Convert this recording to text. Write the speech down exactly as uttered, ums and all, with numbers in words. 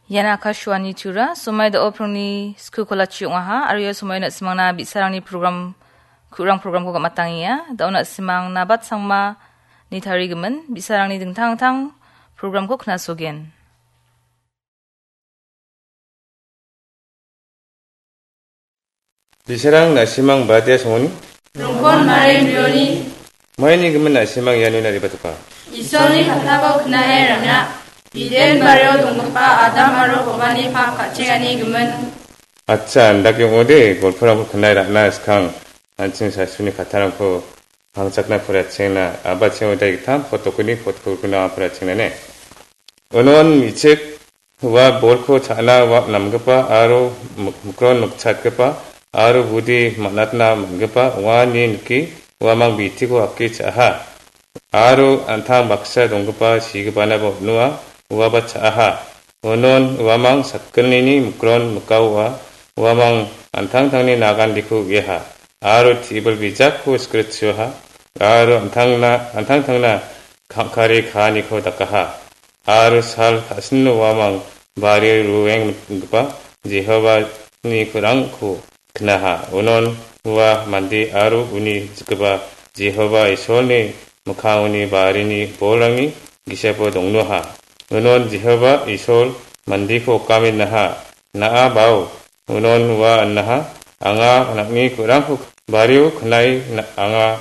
Ian Akashvani Tura, somoi da·o prongni sku kolachi ong·aha, aro ia somoi na·simangna bi·sarangni program, ku·rang programko gam·atangenga. Da·o na·simang Nabat Sangma ni tarigimin, bi·sarangni dingtang dingtang programko knasogen. Bisarang na·simang badia songoni? Rongkon Mari Brioni. Maini gimin na·simang iano naribatoka? Isolni katako knae rangna. Biden bario donggipa Adam aro Bobani pak ka·chengani gimin. Acha, andake ong·ode, golporangko knae ra·na skang, an·ching sasuni katarangko pangchakna poriatchengna, abatseng odai gittam, pot dokoni, pot kulkuna poriatchengna ne. Unon mi·chik ua bolko cha·na ua namgipa aro mik-, mikron mikchatgipa aro budi man·atna man·gipa ong·a ine nike uamang bitiko hake cha·aha. Aro an·tang baksa donggipa sigipanaba on·oa uaba cha·aha. Unon uamang sakgnini mikron mikaoa uamang an·tangtangni nagandiko uiaha. Aro tebil bijakko sikritchioha. Aro an·tangna, an·tangtangna kangkare kaaniko dakaha. Aro sal ka·sino uamang bario ruenggipa Jehovani ku·rangko knaha. Unon ua mande aro uni jikgipa Jehova Isolni mikkangoni barini bolrangni gisepo dongnoha. Unon Jehova Isol mandeko okamenaha. Na·a bao, unon ua anaha, anga nang·ni ku·rangko bario knai na-, anga